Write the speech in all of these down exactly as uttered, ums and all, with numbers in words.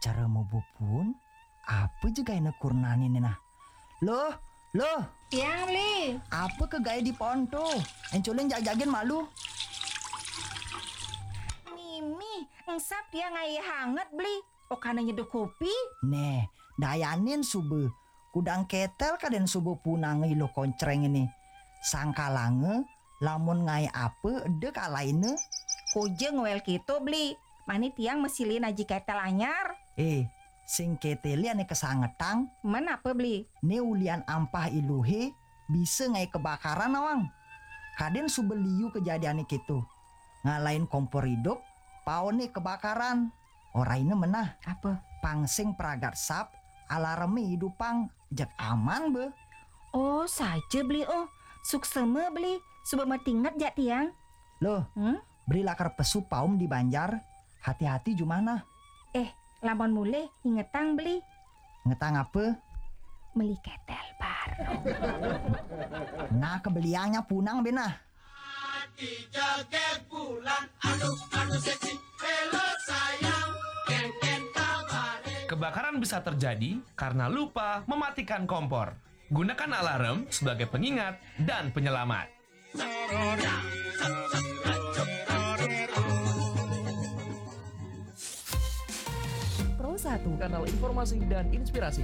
Cara mubupun, apa je gaena kurnane ne nah? Loh, loh, Tiang, Bli. Apa ke gae di pohon to? Encolin jag-jagen malu. Mimi, engsap tiang ae hanget, Bli. Okana nyeduh kopi. Neh, dayanin suba. Kudang ketel kaden suba punang iluh koncreng ini. Sangkalanga, lamun ngae apa, eda kalaina. Koja ngoel keto, Bli. Mani tiang masilin aji ketel anyar. Eh, sing ketele ane kasangetang. Men apa, Bli? Ne ulian ampah iluhe, bisa ngae kebakaran, nawang. Kaden suba liu kejadiane keto. Ngalain kompor idup, paone kebakaran. Oraina menah. Apa? Pang sing pragat sap, alareme idupang, jeg aman be. Oh, saja, Bli, oh. Suksema, Bli. Suba matinget jak tiang. Loh, hmm? Beli lakar pesu paum di banjar. Hati-hati jumana. Eh, lamun mulih, ingetang, Beli. Ingetang apa? Meli ketel baru. Nah, kebeliannya punang, benah. Kebakaran bisa terjadi karena lupa mematikan kompor. Gunakan alarm sebagai pengingat dan penyelamat. Pro satu, kanal informasi dan inspirasi.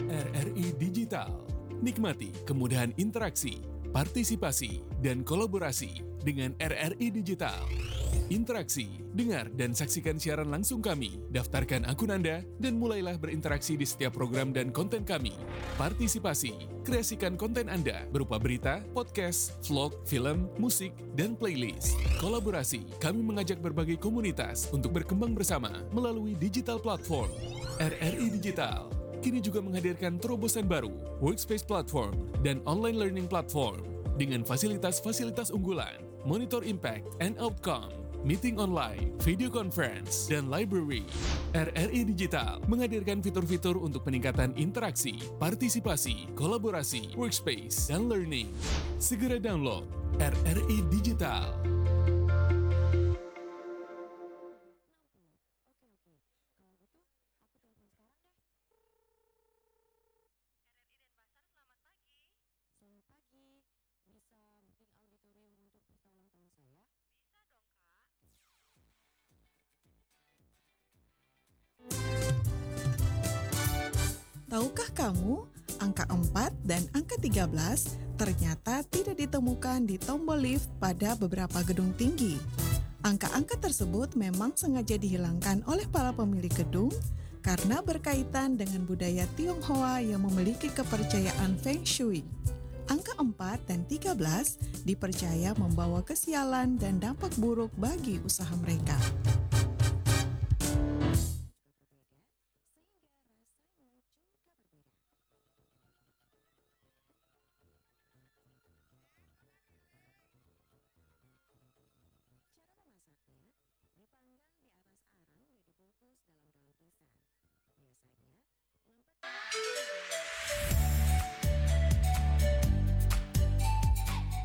R R I Digital. Nikmati kemudahan interaksi, partisipasi, dan kolaborasi dengan R R I Digital. Interaksi, dengar dan saksikan siaran langsung kami, daftarkan akun Anda, dan mulailah berinteraksi di setiap program dan konten kami. Partisipasi, kreasikan konten Anda berupa berita, podcast, vlog, film, musik, dan playlist. Kolaborasi, kami mengajak berbagai komunitas untuk berkembang bersama melalui digital platform. R R I Digital kini juga menghadirkan terobosan baru, Workspace Platform dan Online Learning Platform dengan fasilitas-fasilitas unggulan, monitor impact and outcome, meeting online, video conference, dan library. R R I Digital menghadirkan fitur-fitur untuk peningkatan interaksi, partisipasi, kolaborasi, workspace, dan learning. Segera download R R I Digital. Oke, oke. Kalau gitu, aku telepon sekarang deh. R R I Denpasar, selamat pagi. Selamat pagi. Bisa booking auditorium untuk pesta ulang tahun saya? Bisa dong, Kak. Tahukah kamu, angka empat dan angka tiga belas ternyata tidak ditemukan di tombol lift pada beberapa gedung tinggi. Angka-angka tersebut memang sengaja dihilangkan oleh para pemilik gedung karena berkaitan dengan budaya Tionghoa yang memiliki kepercayaan Feng Shui. Angka empat dan tiga belas dipercaya membawa kesialan dan dampak buruk bagi usaha mereka.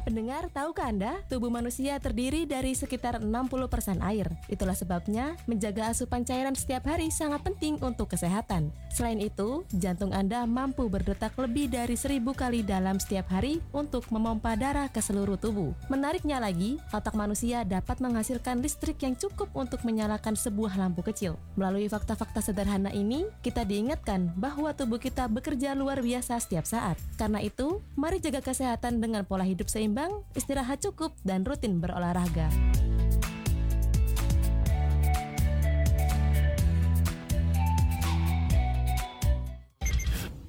Pendengar, tahukah Anda, tubuh manusia terdiri dari sekitar enam puluh persen air. Itulah sebabnya, menjaga asupan cairan setiap hari sangat penting untuk kesehatan. Selain itu, jantung Anda mampu berdetak lebih dari seribu kali dalam setiap hari untuk memompa darah ke seluruh tubuh. Menariknya lagi, otak manusia dapat menghasilkan listrik yang cukup untuk menyalakan sebuah lampu kecil. Melalui fakta-fakta sederhana ini, kita diingatkan bahwa tubuh kita bekerja luar biasa setiap saat. Karena itu, mari jaga kesehatan dengan pola hidup seimbang, istirahat cukup, dan rutin berolahraga.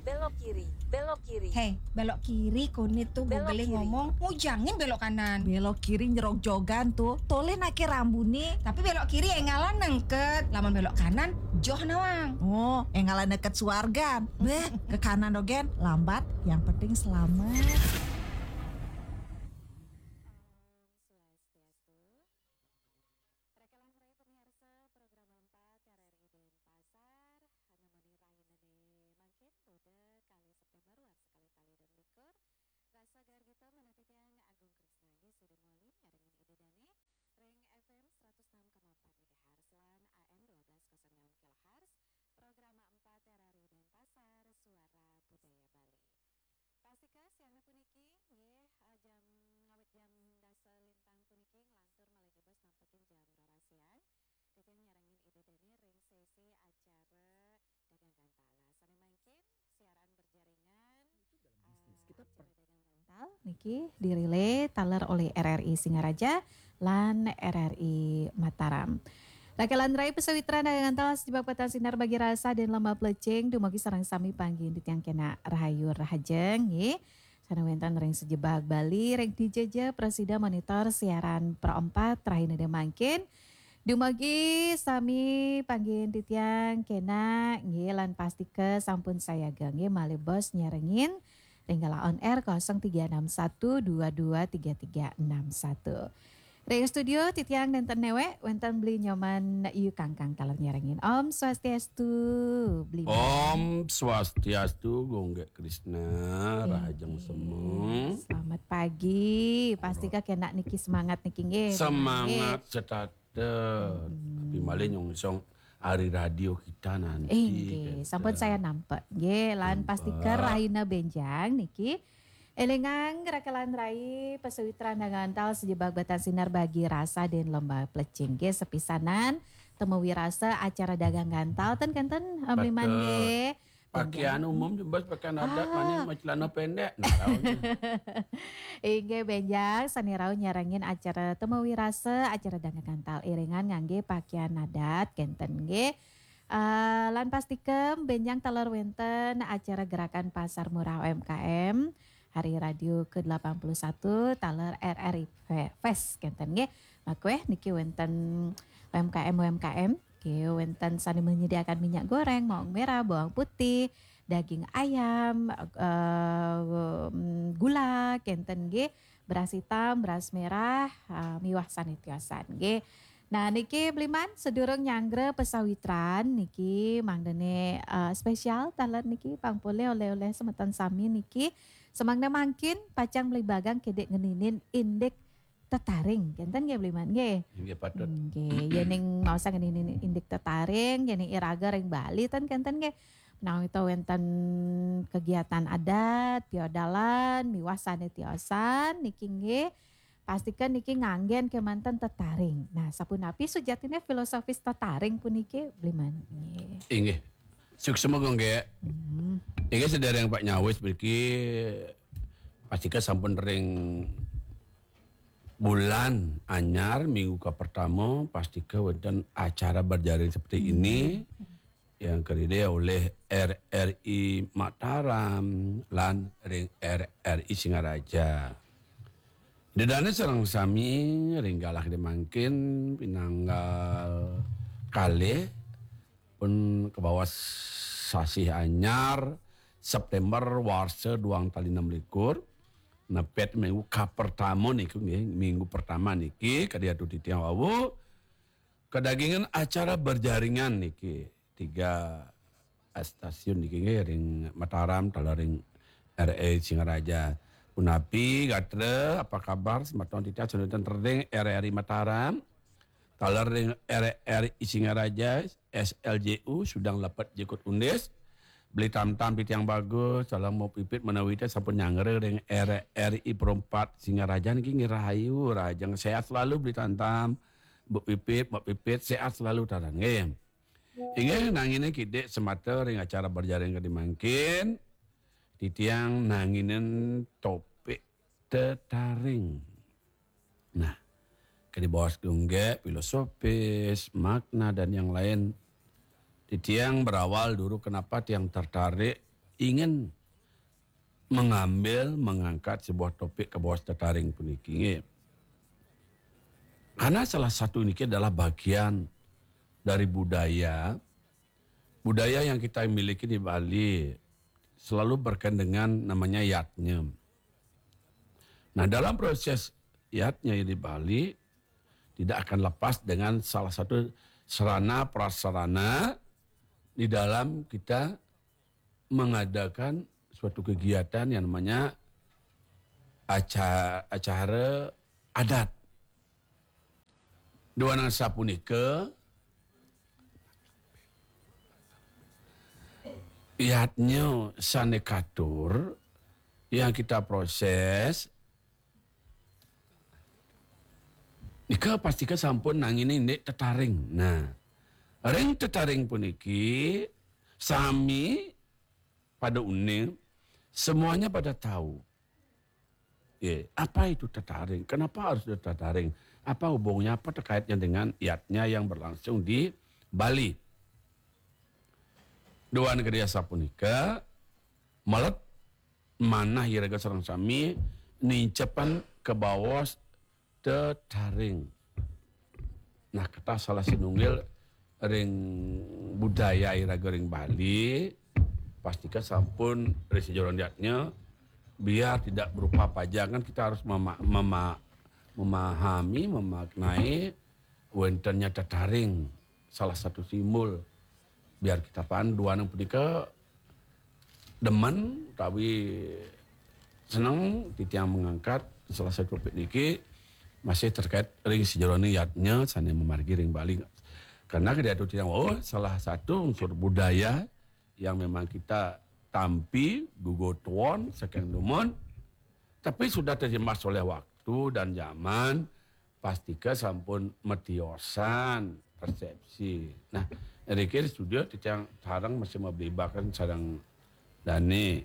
Belok kiri, belok kiri. Hei, belok kiri, kone tuh. Belok kiri. Ngomong, ngujangin belok kanan. Belok kiri nyerok jogan tuh, tole nake rambune. Tapi belok kiri engalan nengket, lamun belok kanan, joh nawang. Oh, engalan neket suargan. Beh, ke kanan dogen, lambat, yang penting selamat. Swastiastu. Raka langkung raya pamiarsa program empat K R R I Denpasar, anu mani rahinane mangkin, Buda, kalih September, warsa kalih tali dasa likur. Rasa gargita manah titiang Agung Krisna nggih sida moli miarengan Ida Dane ring F M seratus enam koma empat. Siang puniki, nggih, eh, jam, ngawit jam dasa lintang puniki, nglantur malih jebos nampekin jam roras siang. Titiang nyarengin Ida Dani ring sesi acara Dagang Gantal. Sane mangkin siaran berjaringan, eh, acara Dagang Gantal niki dirilai taler oleh R R I Singaraja lan R R I Mataram. Rakelan rai pasawitran Dagang Gantal sajebag patan sinar bagi rasa dan lembah plecing, dumugi sareng sami panggihin titiang kenak rahayu rahajeng, nggih. Sane wenten ring sajebag Bali, ring D J J prasida monitor siaran Pro empat rahina mangkin. Dumugi sami panggihin titiang kenak, nggih, lan pastika sampun sayaga, nggih, malih bos nyarengin ring galah on air kosong tiga enam satu dua dua tiga tiga enam satu. Ring studio titiang nenten newek, wenten Beli Nyoman Yu Kangkang taler nyarengin. Om Swastiastu, Beli Nyoman. Om Swastiastu, Gung Gek Krisna, rahajeng semeng. Selamat pagi. Pastika kenak niki semangat niki, nggih. Semangat setata. Tapi malih nyongsong ari radio kita nanti, eh, nggih, gitu. Sampun saya nampek, nggih, lan pastika rahina benjang niki. Elingang rakelan rai pasawitran Dagang Gantal sajebag patan sinar bagi rasa dan lembah plecing, nggih, sepisanan temu wirasa acara Dagang Gantal ten kenten, eh, Beli Man, betul, nggih. Pakaian umum, bos, pakaian adat, ah, mani macelana pendek. Nah, tahu nih. Inggih, benjang sane rauh nyarengin acara temu wirasa, acara Dagang Gantal iringan ngangge pakaian adat kenten, nggih. Eh, lan pastika benjang taler wenten acara gerakan Pasar Murah U M K M hari radio ke delapan puluh satu taler R R I Fe-, Fest kenten, nggih. Makweh niki wenten U M K M, U M K M, nggih, wenten sane menyediakan minyak goreng, bawang merah, bawang putih, daging ayam, eh, mm, gula kenten, nggih, beras hitam, beras merah, eh, miwah sane tiosan, nggih. Nah, niki Beli Man, sedurung nyanggra pasawitran niki mangdane, eh, spesial taler niki pang polih oleh-oleh semeton sami niki. Semangda mangkin pacang Beli Bagang kedik ngeninin indik tetaring, kenten, nggih, Beli Man, nggih. Inggih, patut. Nggih, yening maosang ngeninin indik tetaring, yening iraga ring Bali ten kenten, nggih. Menawi to wenten kegiatan adat, piodalan, miwah sane tiosan niki, nggih. Pastika niki nganggen kemanten tetaring. Nah, sapunapi sujatine filosofis tetaring puniki, Beli Man? Nggih. Inggih. Suksma, Gung Gek. Hmm. Inggih, sedereng Pak nyawis mriki, pastika sampun ring bulan anyar, minggu kapertama, pastika wenten acara berjaring seperti ini yang karidaya oleh R R I Mataram lan ring R R I Singaraja. Ida dane sareng sami ring galah kadi mangkin pinanggal kalih pun kabawas sasih anyar September warsa duang tali enam likur. Nepet minggu kapertama niku, nggih, minggu pertama niki kadi atur titiang wau kadagingan acara berjaringan niki. Tiga stasiun niki, nggih, ring Mataram, taler ring R R I Singaraja. Punapi gatra, apa kabar semeton titiang sane wenten ring R R I Mataram, taler ring R R I Singaraja, S L J U, Sudang Lepet Jukut Undis. Beli Tamtam titiang bagus, salam Mbok Pipit menawi teh sampun nyanggra ring R R I Pro empat Singaraja niki, nggih, rahayu, rahajeng, sehat selalu Beli Tamtam. Mbok Pipit, Mbok Pipit, sehat selalu taler, nggih. Inggih, nangine kidik semata ring acara berjaring kadi mangkin, titiang nanginen topik tetaring. Nah, kadi bawas Gung Gek, filosofis, makna, dan yang lain. Titiang berawal dulu kenapa tiang tertarik ingin mengambil, mengangkat sebuah topik kabawas tetaring puniki, nggih. Karena salah satu niki adalah bagian dari budaya, budaya yang kita miliki di Bali selalu berkaitan dengan namanya yadnya. Nah, dalam proses yadnya di Bali tidak akan lepas dengan salah satu sarana prasarana di dalam kita mengadakan suatu kegiatan yang namanya aca-, acara adat. Duaning sapunika, yadnya sane katur, yang kita proses, nika pastika sampun nangini indik tetaring. Nah, ring tetaring puniki sami pada uning, semuanya pada tahu. Ya, apa itu tetaring? Kenapa harus ada tetaring? Apa hubungnya, apa terkaitnya dengan yadnya yang berlangsung di Bali? Duan gede asapunika, melet manah iraga sareng sami nincepan kabaos tetaring. Nah, ketah salah sinunggil ring budaya iraga ring Bali, pastika sampun ring sajeroning yadnya, biar tidak berupa pajangan, kita harus mema-, mema-, memahami, memaknai wentennya tetaring, salah satu simbol. Biar kita paham, duaning punika demen utawi seneng titiang mengangkat salah satu topik niki masih terkait ring sajeroning yadnya sane mamargi ring Bali. Karena kedatu titiang wau salah satu unsur budaya yang memang kita tampi, gugu tuon, saking dumun, tapi sudah terjemas oleh waktu dan zaman, pastika sampun matiosan persepsi. Nah, rikir studio titiang sareng masih mablibakan sareng dane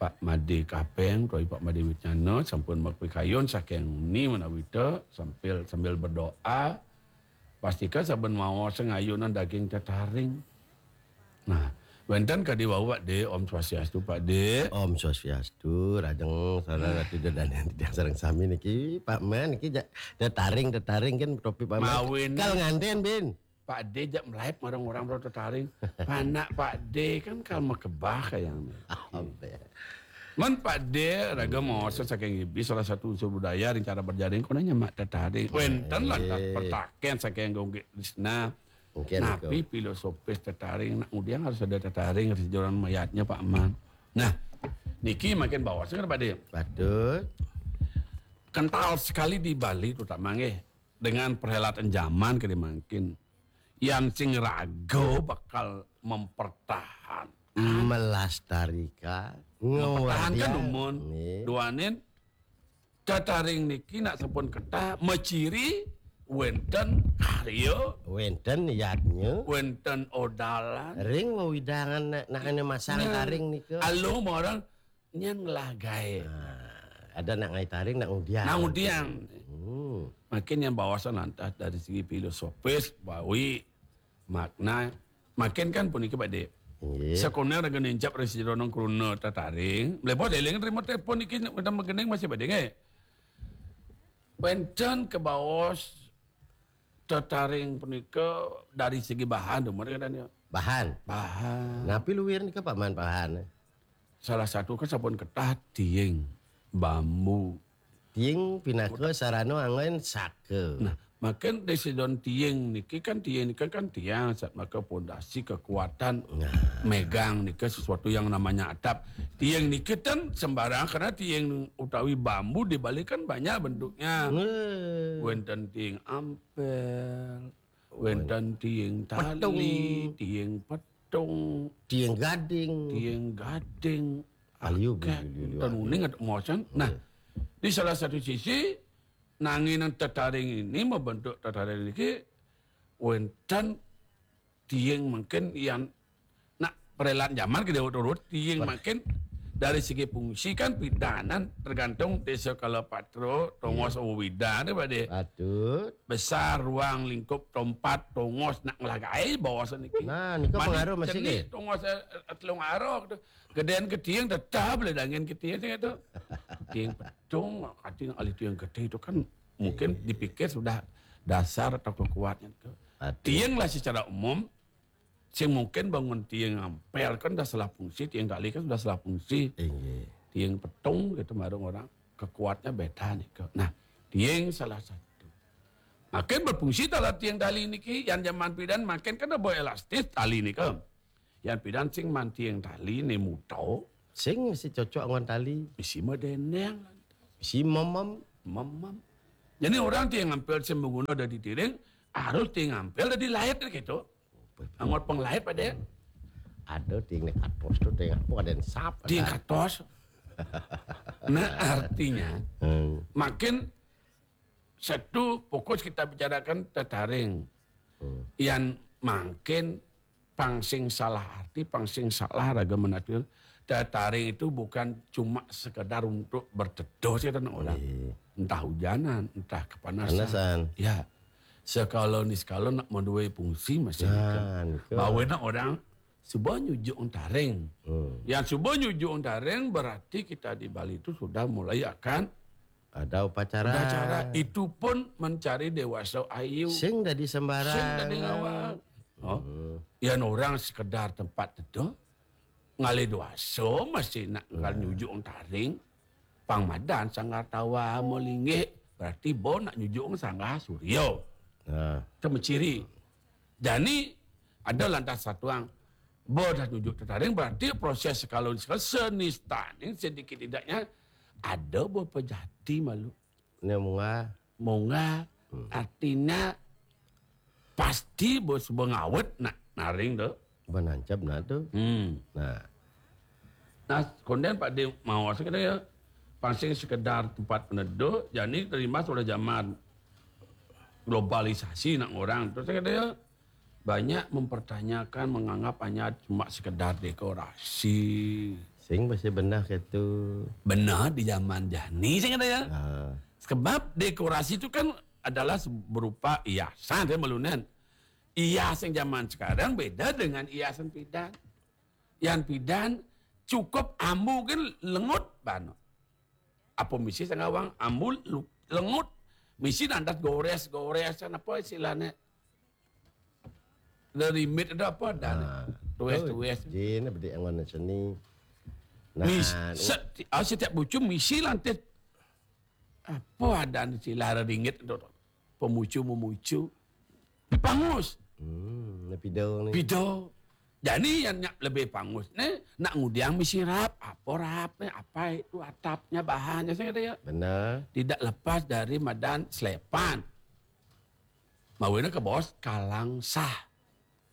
Pak Made Kapeng, utawi Pak Made Wicana sampun mapikayun saking ni menawita sambil, sambil berdoa. Pastika saben maos ngayunan daging tetaring. Nah, wenten kadi wau, Pak De. Om Swastiastu, Pak De. Om Swastiastu, rajeng sareng ratu dadan titiang sareng sami niki, Pak Man niki ja-, tetaring, tetaring kan topik Pak Man. Mawin. Kal nganten, Bin. Pak De jak melaib marang orang bro tetaring. Panak Pak De kan kal makebah kayang. Apa ya? Man Pak De raga maosa saking ibi salah satu unsur budaya ring cara berjaring konanya mak tetaring. Wenten lantas pertaken saking Gung Krisna. Mungkin napi filosofis tetaring, nak ngudiang harus ada tetaring ring sajeroning mayatnya Pak Man. Nah, niki makin baos kan Pak De. Betul. Kental sekali di Bali terutama nggih dengan perhelatan zaman kadi mangkin. Yan sing raga bakal mempertahan. Melestarikan, mempertahankan ngewadian. Dumun. Nggih. Duanin tetaring niki nak sampun ketah maciri wenten karya, wenten yadnya, wenten odalan. Ring wewidangan nak, nak ane masang taring nika. Aluh marang nyan ngelah gae. Nah, ada nak ngai taring, nak ngudiang. Nak ngudiang. Hmm. Makin yang bawasan lantas dari segi filosofis, bawi, makna, makin kan puniki Pak De. Nggih. Sakoner raga nincap ring sajeroning kruna tetaring, mlebu deling terima telepon niki wenten magending masih Pak De nggih. Wenten kabaos tetaring punika dari segi bahan dumun kadang. Bahan. Bahan. Napi luir nika Pak Man bahan? Salah satu kan sampun ketah tiing, bambu. Tiing pinaka sarana anggon saka. Nah, makin desidon tiing niki kan, tiing niki kan tiang sat maka pondasi kekuatan. Nah. Megang nika sesuatu yang namanya atap. Tiing niki ten sembarang karena tiing utawi bambu di Bali kan banyak bentuknya. Nah. Wenten tiing ampel, wenten tiing tali, petung, tiing petung, tiing gading. Tiing gading. Aliu. Akeh. Liu, liu, liu, ten uning ada mosan. Nah, di salah satu sisi, nanginan tetaring ini, membentuk tetaring ini, wenten tiing mungkin yang nak perelan zaman ke Dewa Turut, tiing mungkin dari segi fungsi kan pidanan tergantung desa kala patro, tongos. Iya. Widan, Pak De. Patut. Besar, ruang lingkup, tempat, tongos, nak ngelagai bawasan niki. Nah, nika pengaruh masih cenik, ke? Tongos, eh, eh, telung arok tu. Gedean ketiang tetap le dangin ketiang sing itu. Ketiang petung, katiang alih tiang gede itu kan mungkin dipikir sudah dasar atau kekuatan itu. Patut. Tiang lah secara umum, sing mungkin bangun tiang ampel kan dah salah fungsi, tiang tali kan sudah salah fungsi. Inggih. Tiang petung gitu marang orang, kekuatnya beda nih. Nah, tiang salah satu. Makin berfungsi talah tiang tali niki, yang zaman pidan makin kan ada elastis tali nika. Yang pidan sing mantiang tali ni muto. Sing mesti cocok ngon tali. Mesti medeneng. Mesti memem. Memem. Jadi orang tiang ampel sing mengguno dari tiring, harus tiang ampel dari lahir gitu. Angot penglahir pada. Ada tiang ni katos tu, tiang apa, ada yang sap, tiang ada katos. Nah, artinya Hmm. makin satu fokus kita bicarakan tetaring. Hmm. Yang makin pangsing salah arti, pangsing salah raga menatur. Tetaring itu bukan cuma sekedar untuk berteduh sih orang. Iya. Entah hujanan, entah kepanasan. Panasan. Ya. Sekala ni sekala nak menduai fungsi masih Nah, nika. Bawa nak orang suba nyujuk taring. Hmm. Yang suba nyujuk taring berarti kita di Bali itu sudah mulai akan Ada upacara. upacara. Itu pun mencari dewasa ayu. Sing dadi sembarang. Sing dadi ngawal. Oh. Hmm. Yang orang sekedar tempat teduh, ngalih dewasa masih nak ngal nyujuk taring. Pang madan sanggar tawa melinggih, berarti bo nak nyujuk sanggar surya. Nah. Itu menciri. Jani ada lantas satuang bo dah nyujuk tetaring, berarti proses sekala sekala seni staning sedikit tidaknya ada bo pejati malu. Ni munga. Munga artinya pasti bo suba ngawet nak naring tu. Benancap nah tu. Hmm. Nah. Nah, konden Pak Dim mau saya kata ya, pangsing sekedar tempat peneduh, jani terimbas oleh zaman globalisasi nak orang. Terus saya kata ya, banyak mempertanyakan, menganggap hanya cuma sekedar dekorasi. Sing masih benar gitu. Benar di zaman jani saya kata ya. Nah. Sebab dekorasi itu kan adalah berupa hiasan saya melunan. Hias yang zaman sekarang beda dengan hiasan pidan. Yang pidan cukup ambu kan lengut bano. Apa misi sangawang ambu lu- lengut. Misi nandat gores-gores kan apa istilahnya. Dari mit ada apa dan Nah, tues tu tues. Jin bedi angon seni. Nah, Mis, u- setiap, setiap bucu misi lantit. Apa ada istilah ringgit tu? Pemucu memucu. Dipangus. Hmm, ni pidol ni. Pido. Jadi yang nak lebih pangus ni nak ngudiang misi rap. Apa rap ni? Apa itu atapnya bahannya saya kata ya. Benar. Tidak lepas dari madan selepan. Mawina ke bos kalang sah.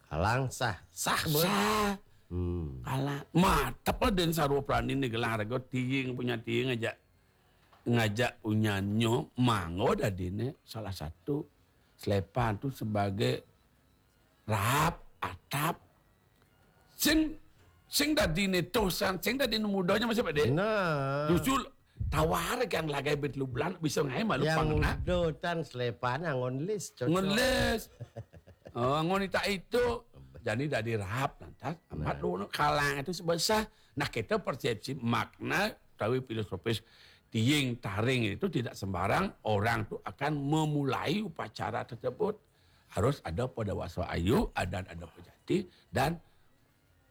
Kalang sah. Sah bos. Sah. Hmm. Kalang. Matap lah dan sarwa prani ni gelang rego tiing punya tiing aja. Ngajak punyanyo manggo dadi ni salah satu selepan tu sebagai rap atap sing sing dadi ni tosan sing dadi ni mudonya masih pada Nah. Justru tawar kan lagai bet lu bulan bisa ngai malu Yang pang nak muda tan selepan angon list cocok. Ngeles. Oh, ngon tak itu. Jadi dari rap lantas amat lu kalang itu sebesar. Nah, kita persepsi makna tawi filosofis tiing taring itu tidak sembarang orang tu akan memulai upacara tersebut. Harus ada pada wasa ayu, ada ada pejati dan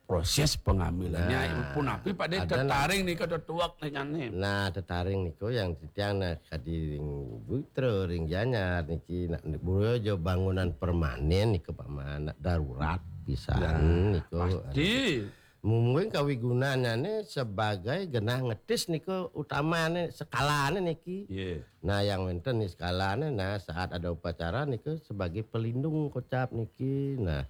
proses pengambilannya. Nah, Pun api pada ada tetaring ni kata tuak ni kan ni. Nah, tetaring niko yang titiang nah kadi ring butra ring janyar niki nak buruh jo bangunan permanen niko paman nak darurat pisan niko. Pasti. Mungkin kawigunannya ni sebagai genah ngetis niko utama ni sekala ni niki. Ya. Nah, yang wenten ni sekala ni nah saat ada upacara niko sebagai pelindung kocap niki. Nah,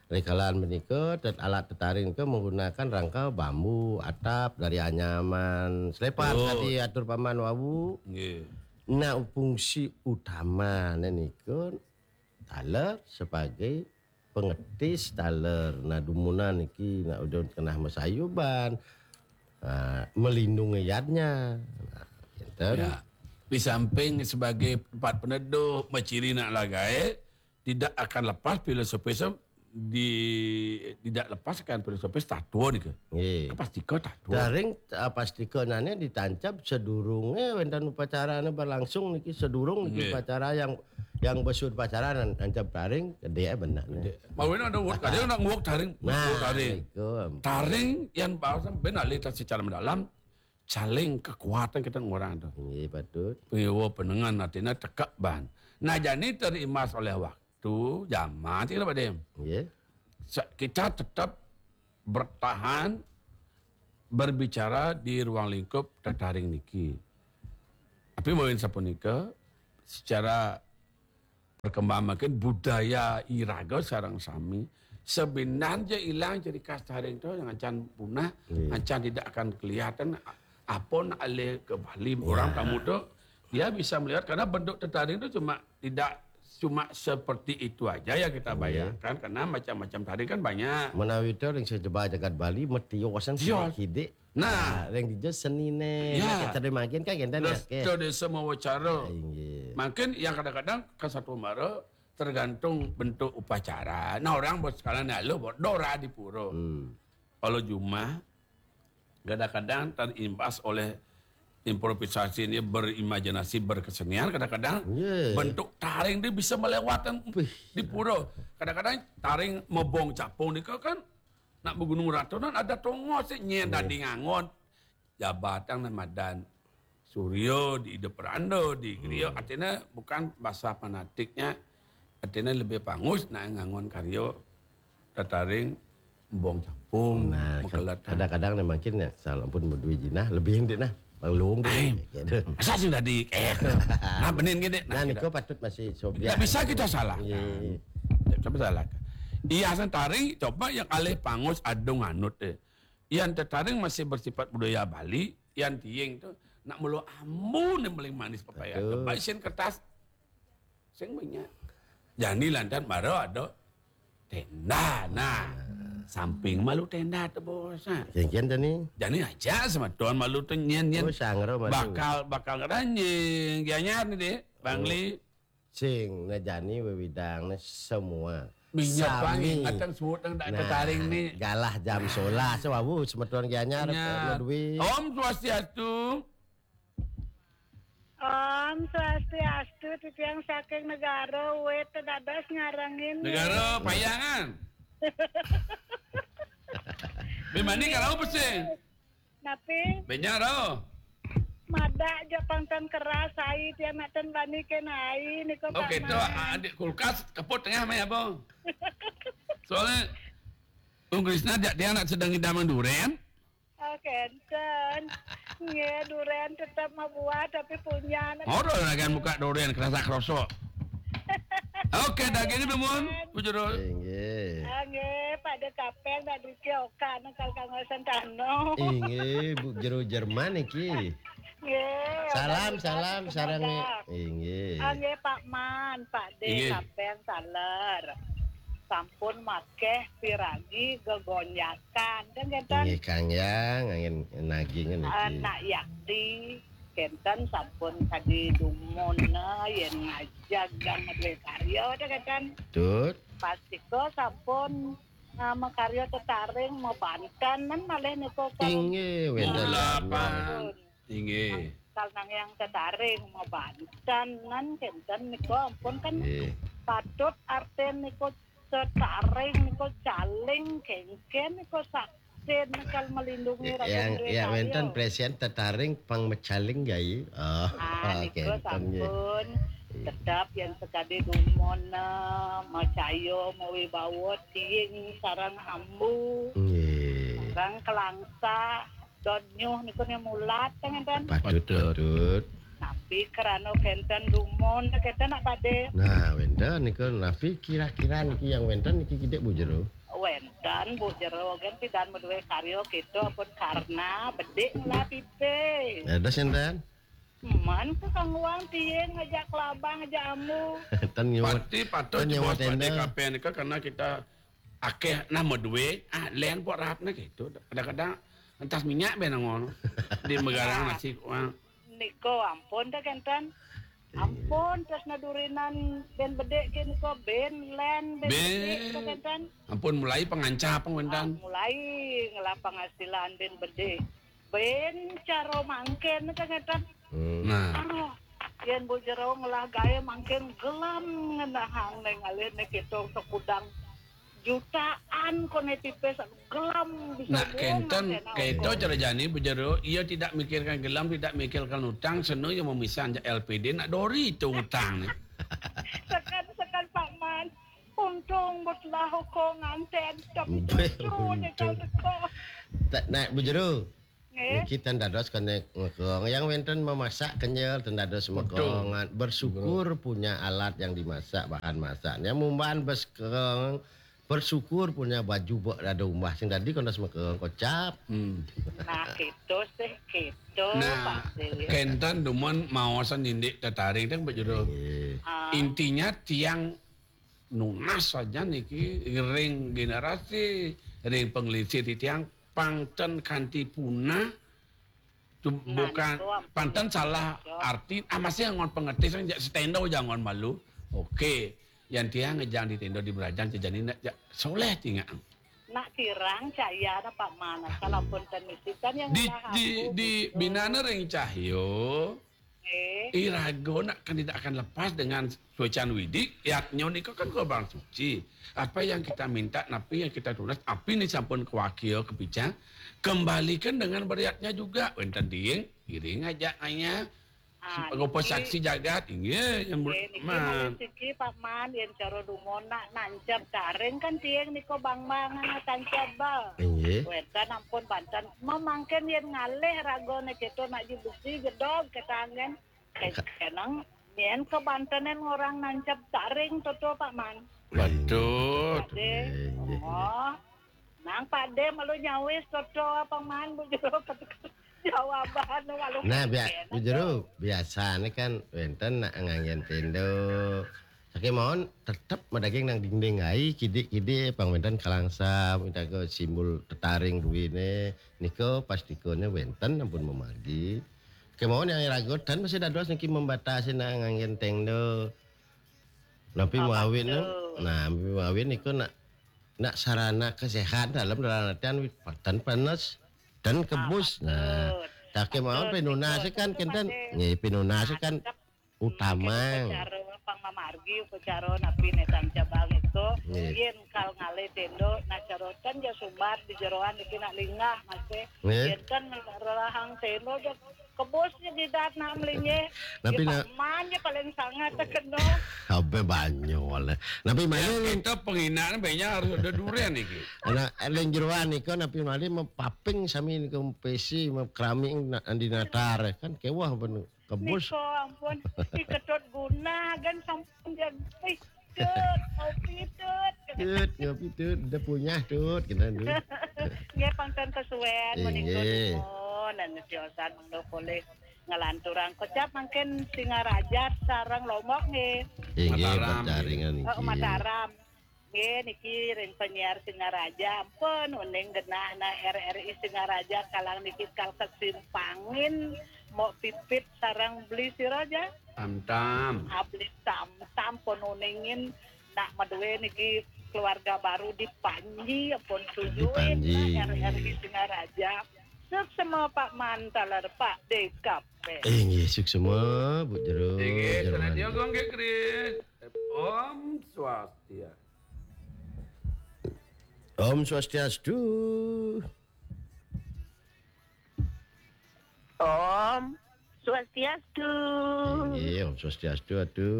rikalan menika tet- alat tetaring nika menggunakan rangka bambu, atap dari anyaman, selepan Oh. Tadi atur paman wawu. Ya. Nah, fungsi utama nika taler sebagai pengetis taler. Nah, dumunan niki nak udah kenah masayuban. Ha, melindungi yadnya. Nah, enten. Ya. Di samping sebagai tempat peneduh, maciri nak lagai, tidak akan lepas filosofis di tidak lepaskan filosofis tatua ni ke. Nggih. Pasti ke tatua. Daring uh, pastika nane ditancap sedurunge wenten upacara ne berlangsung niki sedurung niki Nggih. upacara yang yang besud upacara nan tancap daring gede benar ne. Mau ini ada word kadang nak nguak taring, Nah, nguak taring. Niku. Taring yang bahasa ben alih secara mendalam caling kekuatan kita orang tu. Nggih, patut. Pengiwa penengan artinya tekak ban. Nah, jadi terimbas oleh waktu, zaman tidak pada. Nggih. Sa- Kita tetap bertahan berbicara di ruang lingkup tetaring niki. Tapi mawin sapunika secara perkembangan mungkin budaya iraga sareng sami sebenarnya hilang ciri khas taring tu yang acan punah, Iya. acan tidak akan kelihatan. apa nak alih ke Bali, orang tamu tu, dia bisa melihat, karena bentuk tetaring tu cuma, tidak cuma seperti itu aja yang kita bayangkan, karena macam-macam taring kan banyak. Menawi to ring sejaba jagat Bali, metiosan sidik-sidik. Nah, ring dija senine, ya, kita makin kan kita. Terus ke desa mawacara. Inggih. Makin yang kadang-kadang ke satu mara tergantung bentuk upacara. Nah, orang buat sekalian lalu buat dora di pura. Hmm. Kalau jumah, kadang-kadang terimbas oleh improvisasi ini, berimajinasi, berkesenian, kadang-kadang bentuk taring dia bisa melewatkan di pura. Kadang-kadang taring mebong capung ni kan nak begunung ratu nan ada tongos sih nyen tadi ngangon. Jabatang nan madan Suryo di Ida Peranda di Grio, artinya bukan bahasa fanatiknya, artinya lebih pangus nak ngangon karyo tataring bong capung. Nah, kadang-kadang ni mungkin ya, salah pun berdua jinah, lebih indik nah. Bang Luung tu. Asal sing tadi, eh, nah, benin gini. Nah, niko patut masih sobiak. Tidak bisa kita salahkan. Tidak bisa salahkan. Iya, sentari coba yang alih pangus adung anut deh. Yang tetaring masih bersifat budaya Bali, yang tiing tu nak mulu ambu ni paling manis pepaya. Baik sin kertas. Sing banyak. Jani lantan baru ada tenda. Nah, samping malu tenda tu bos. Nah. Kian-kian tani. Jani aja sama tuan malu tu nyen nyen. Oh, sangro malu. Bakal bakal ngeranjing. Gianyar ni deh, Bangli. Sing, nah jani wewidang, nah semua. Minyak wangi, sami. Atang suut nang dak tetaring ni. Galah jam solas, wawu semeton Gianyar. Om Swastiastu. Om Swastiastu, titiang saking negara, wet dados ngarengin. Negara Payangan. Bimani kalau pesing. Napi? Benyar oh. Madak ja pang tan keras ai, tiang nak tan bani ken ai niko. Oke, tu adik kulkas keput tengah meh apa? Soalnya Ung Krisna jak tiang nak sedang idam duren. Oke, enten. Nggih, duren tetap mabuah tapi punya. Ora ragan buka duren kerasa kerosok. Oke, daging dumun, Bu Jero. Inggih. Ah, nggih, pada kapeng dak duki oka nang kal kangosan tano. Inggih, Bu Jero Jerman iki. Nggih. Salam, salam, sareng. Inggih. Ah, nggih, Pak Man, Pak De, inggih. Kapeng saler. Sampun makeh piragi gegonjakan. Kan, kan? Inggih, Kang Yang, angin naging niki. Anak yakti. Kenten sampun kadi dumun, nah, yen ngajak gang duwe karya, dah kenten. Betul. Pastika sampun, nah, makarya tetaring, mabanten, nan malih niku kan. Inggih, wenten. Mula pan. Inggih. Kal nang yang tetaring, mabanten, nan kenten niku ampun kan. Inggih. Patut artin niku tetaring niku caling kengken niku saksin kal melindungi rakyat. Yang, yang wenten presiden tetaring pang mecaling gai. Oh, ah, niku kenten, nggih. Sampun. Iya. Tetap yang sekadi dumun, eh, macaya mawibawa tiing sareng ambu. Nggih. Sareng kelangsa dot nyuh niku ne mulat kan, kan? Patut, patut. Patut. Tapi kerana kenten dumun kenten nak pade. Nah, wenten niku napi kira-kira niki yang wenten niki kidik Bu Jero? Wenten Bu Jero kan pidan maduwe karya kita pun karena bedik ngelah pipe. Ada senten? Man ke kang wang tiing ngajak kelabang ngajak amu. Ten nyuwat. Pati patut ten nyuwat pade tenda. Kape nika karena kita akeh nah maduwe, ah, len pok rap nah gitu. Kadang-kadang entas minyak ben ngono. Di megarang nasi kuang. Niko ampun dah kenten. Iya. Ampun, terus nadurinan ben bedik ke niko ben len ben bedik dah kenten. Ampun mulai pengancap wenten. Ah, mulai ngelah penghasilan ben bedik. Ben cara mangken dah kenten. Hmm. Nah. Aduh, yen Bu Jero ngelah gawe mangkin gelam ngenahang neng alih ne kita sekudang jutaan kone tipis gelam bisa. Nah, kenten, kaito cara jani Bu Jero, ia tidak mikirkan gelam, tidak mikirkan utang, seno ia memisahan jak L P D, nak dori itu utang ni. Sekan, sekan Pak Man, untung betlah hukum nganten, tapi justru ni kau teko. Tak nak Bu Jero. Nggih. Niki ten dados kene ngekong. Yang wenten memasak kenyel ten dados mekong. Betul. Bersyukur punya alat yang dimasak, bahan masaknya. Mumbahan bes keng, Bersyukur punya baju bek dado umbah sing dadi kono semeka kocap. Hmm. Nah, gitu sih, gitu, Nah, Pak Dil. Kenten dumun maosan indik tetaring teng bejero. Nggih. Ah, Intinya tiang nunas saja niki ring generasi, ring pengelisih di tiang pangten kanti punah. Tu- Nah, bukan niku ampun, panten ya, salah ya. Arti, ah, masih ngon pengerti, saya jak setendo jangan malu. Oke, yang tiang ngejang di tendo di berajang jejani nak jak soleh tinggal. Nak kirang caya na Pak Man, asal ampun ten misi kan yang Di ngalah di aku, di gitu. Binana ring Cahyo. Eh, Irago nak kan tidak akan lepas dengan suecan Widi, yatnyo niko kan korban suci. Apa yang kita minta, napi yang kita tunas, api ni sampun kewakil kepica, kembalikan dengan beriatnya juga. Wenten ding, iring aja anya. ah, Rupa niki, saksi jagat, inggih, yang eh, niki man. Malih siki Pak Man, yang caro dumun nak nancap taring kan tiang niko bang-bang anak tancap bal. Nggih. Wenten ampun banten, memangken yang ngalih rago ne ceto nak ji besi gedog ketangen. Kenang, nyen kebantenan orang nancap taring toto Pak Man. Betul. Pade. Nggih, nggih. Oh. Nang pade malu nyawis toto Pak Man bujero jawaban malu. Nah, bia, Enak bujero biasane kan wenten nak nganggen tendo. Saking mawon tetep madaging nang dinding ai, kidik-kidik pang wenten kalangsam, utaga simbol tetaring duwine, nika pastikane wenten ampun memargi. Kemawon yang ragotan masih dados niki membatasi nak nganggen tendo. Napi Oh, mawin, betul. Nah, napi mawin niku nak nak sarana kesehatan dalam dalam artian wit- tan panas dan kebus. Nah, betul. tak kemawon Betul, pinunase betul, kan betul, kenten. Pak. Nggih, pinunase kan utama. Upacara pang mamargi upacara napi ne tancap bal itu. Nggih. Yen kal ngalih tendo, nah carotan ya sumbar di jeroan iki nak lingah masih. Nggih. Yen kan rerahang tendo je kebus je didat nak melinye. Napi Ya, nak Pak Man je paling sangat terkena. Abe banyu oleh. Napi Ya, malih kita penghinaan banyak harus ada durian iki. anak ling jeroan nika napi malih mepaping sami nika pesi, keramik nak andi natar kan kewah ben kebus. Niko ampun, diketut guna kan sampun jadi. Tut, kopi tut. Tut, ngopi tut, udah punya tut, kita tu. Nggih pangken kesuwen Inggih. Menika dumun dan tiosan mengko polih ngelanturang kocap mangkin Singaraja sareng Lombok nggih. Inggih, Mataram. Berjaringan Oh, niki. Mataram. Nggih niki ring penyiar Singaraja ampun uning genah nah R R I Singaraja kalang niki kal kesimpangin mok pipit sareng beli siraja. Tam-tam. Abli tam-tam pun uningin nak madue niki keluarga baru di Panji pun tujuin Panji. R R I Singaraja. Suksma Pak Man taler Pak D K P. Inggih, suksma Bu Jero. Inggih, Jero. Radio Gongge Kris. Om Swastiastu. Om Swastiastu. Om Swastiastu. Inggih, Om Swastiastu atu,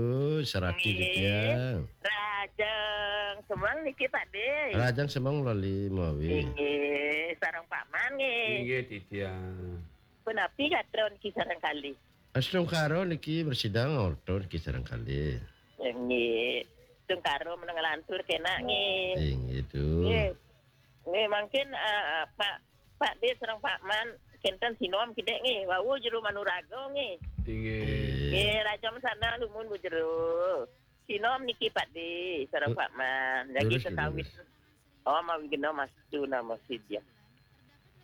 sarati Inggih. titiang. Rajang Semeng niki Pak De. Rajang Semeng lali mawi. Inggih, sareng Pak Man nggih. Inggih titiang. Punapi gatra niki sareng kali. Astungkara niki bersidang orto niki sareng kali. Nggih. Tungkara meneng lantur kenak nggih. Inggih tu. Nggih. Nggih mungkin eh, Pak Pak De sareng Pak Man kenten sinom kidek nggih. Wau jero manuraga nggih. Inggih. Inggih. Nggih, rajam sana lumun Bu Jero. Sinom niki Pak De sareng Lu- Pak Man. Lagi lurus, tetawit. lurus. Oh, mawi gena mas tu nama sidia.